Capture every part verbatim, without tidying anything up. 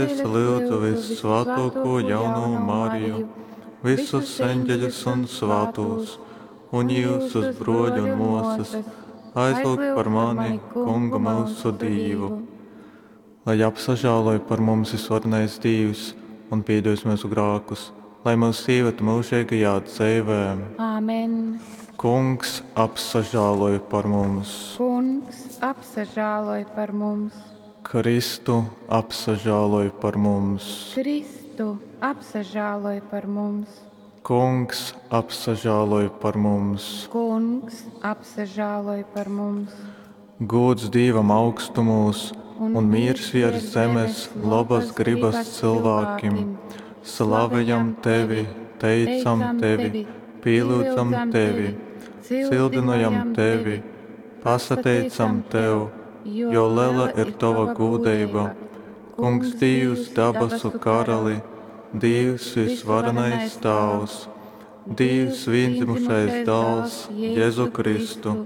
Es lyudzu vyssvātōkū jaunū Mariju, visus eņģeļus un svātūs, un jyusus, brōļi un mōsas, aizlyugt par mani Kungu myusu Dīvu. Lai apsažāloj par mums visvarenais Dīvs un pīdūs myusu grākus, lai myus ieved myužīgajā dzeivē. Āmen. Kungs, apsažāloj par mums! Kungs, apsažāloj par mums! Kristu, apsažāloj par mums! Kristu, apsažāloj par mums! Kungs, apsažāloj par mums! Kungs, apsažāloj par mums! Gūds Dīvam augstumūs un mīrs viers zemes labas gribas cilvēkim. Slavejam tevi, teicam tevi, pīlyudzam tevi, cildynojam tevi, pasateicam tev, jo lela ir tova gūdeiba. Kungs Dīvs, dabasu karali, Dīvs visvarenais Tāvs, Dīvs vīndzimušais dāls, Jēzu Kristu.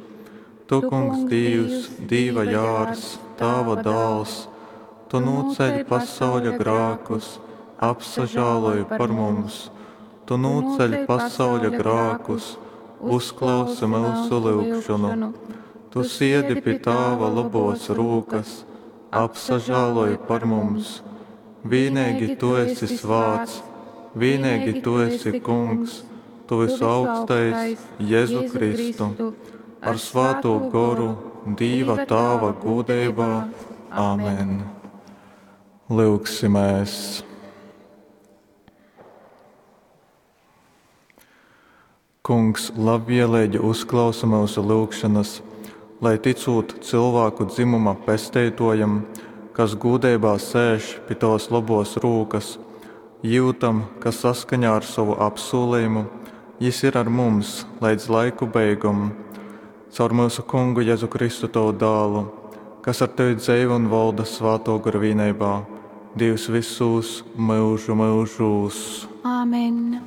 Tu, Kungs Dīvs, Dīva jārs, Tāva dāls, Tu nūceļ pasauļa grākus, apsažāloj par mums. Tu nūceļ pasauļa grākus, uzklausi myusu lyugšonu. Tu siedi pi Tāva labos rūkas, apsažāloj par mums. Vienīgi Tu esi svāts, vienīgi Tu esi Kungs, Tu visaugstais Jēzu Kristu, ar svātū goru, Dīva Tāva gūdeibā. Āmen. Lyugsimēs! Kungs labvēlīgi uzklausa myusu lūgšanas, lai ticūt cilvēku dzimuma pesteitojam, kas gūdeibā sēž pi tavas labos rūkas, jūtam, ka saskaņā ar savu apsūlījumu jis ir ar mums līdz laiku beigom. Caur myusu Kungu Jēzu Kristu tavu dālu, kas ar tevi dzeivo un valda svātō gara vienībā, Dievs visus mūžu mūžos. Āmen.